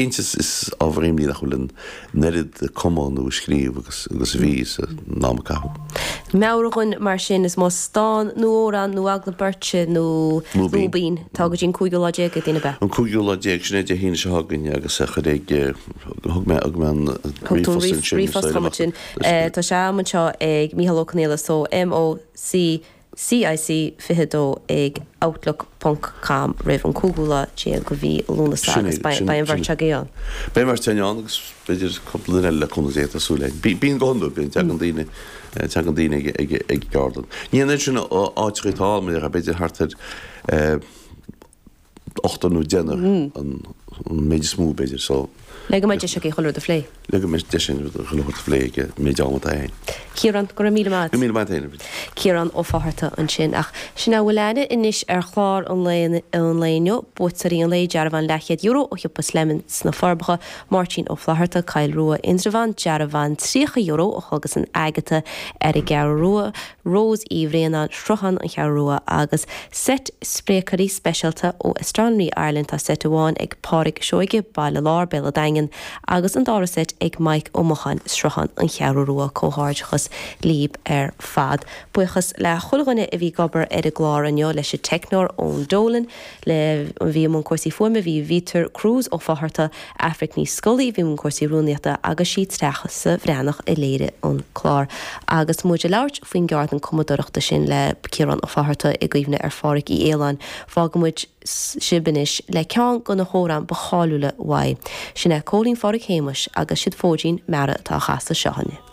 Cinnte, is ábhar imní nach bhfuil an oiread ag cumadh nó ag scríobh agus a bhí san am a caitheadh. Meabhraigh dhúinn mar sin, is más dán nó amhrán nó agallamh beirte nó lúibín, tá go dtí an cúigiú lá déag ag daoine, ab ea? An cúigiú lá déag, sin é Dé hAoine seo chugainn agus chuir ag, thug mé, thug mé an ríomhphost ansin. Ríomhphost chomh maith sin. Tá sé agam anseo ag Mícheál Ó Conghaile so MOC CIC 22 ag outlook ponc com roimh an cúigiú lá déag de mhí Lúnasa agus beidh an bheirt agaibh ann. Beidh an bheirt againn ann agus b'fhéidir cúpla duine eile le cúnamh Dé tá súil againn. Bíonn go hiondúil, bíonn, tagann daoine, tagann daoine ag, ag, ag an gceardlann. Ní an oiread sin áiteacha atá ann, b'fhéidir thart ar ochtar nó deichniúr an méid is mó, b'fhéidir, so. Le go mbeidh deis agaibh chuile rud a phlé. Le go mbeidh deis againn chuile rud a phlé ag an méid ama atá againn. Ciarán, go raibh míle maith agat. Go raibh míle maith agat féin. Ciarán Ó Fátharta ansin. Ach sin a bhfuil againne anois ar chlár an lae an lae inniu, buaiteoirí an lae, dearbhán leathchéad euro ó shiopa Slemon sna Forbacha, Máirtín Ó Flatharta, Coill Rua, Indreabhán, dearbhán €30 ó Chlógas an Agatha ar an gCeathrú Rua, Rose Uí Bhraonáin, Sruthán, An Cheathrú Rua, agus seit spréachairí speisialta ó Astronomy Ireland. Tá seit amháin ag Pádraig Seoige, Baile Láir, Béal an Daingin, agus an dara seit ag Mike Ó Mocháin, Sruthán, An Cheathrú Rua. Comhghairdeachas líb ar fad. Buíochas le chuile dhuine a bhí ag obair ar an gclár inniu, leis an teicneoir Eoin Dolan, le a bhí i mbun cúrsaí fuaime bhí Vítear Cruise Ó Fátharta, Aifric Ní Scolaí a bhí i mbun cúrsaí rúnaíochta agus sí Treasa Bhreathnach a léirigh an clár. Agus muid ag labhairt faoin gceardlann cumadóireachta sin le Ciarán Ó Fátharta i gcuimhne ar Phádhraic Uí Aoláin, fágfaidh muid sibh anois le ceann de na hamhráin ba cháiliúla uaidh. Sin é Cóilín Phádraig Shéamuis agus siad Fóidín Meara atá á chasadh seo.